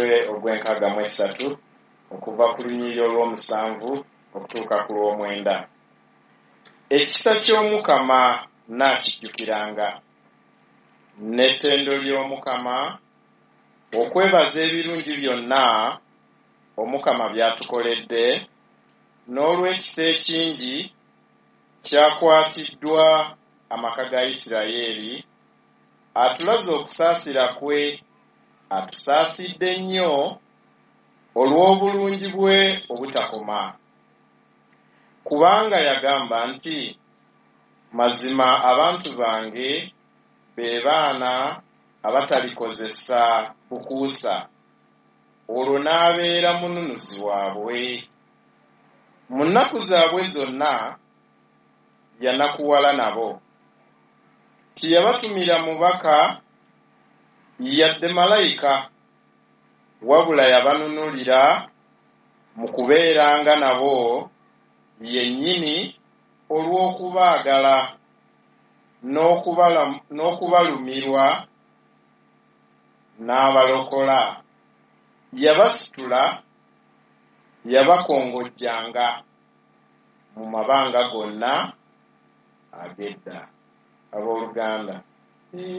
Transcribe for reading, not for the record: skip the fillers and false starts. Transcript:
Omutwe ogw'enkaaga mu esatu, okuva ku lunyiriri olw'omusanvu okutuuka ku lw'omwenda. Ekisa ky'Omukama nnaakijjukiranga, n'ettendo ly'Omukama, okwebaza ebirungi byonna Omukama by'atukoledde, n'olw'ekisa ekingi ky'akwatiddwa amaka ga Yisirayeli, atulaze okusaasira kwe, atusaasidde nnyo olw'obulungi bwe obutakoma. Kubanga yagamba nti, Mazima abantu bange be baana abatalikozesa bukuusa, olwo n'abeera Mununuzi waabwe. Mu nnaku zaabwe zonna yanakuwala nabo, teyabatumira mubaka yadde malayika, wabula yabanunulira mu kubeeranga nabo yennyini olw'okubaagala, n'okubalumirwa n'abalokola. Yabasitula, yabakongojjanga mu mabanga gonna ag'edda. Abooluganda.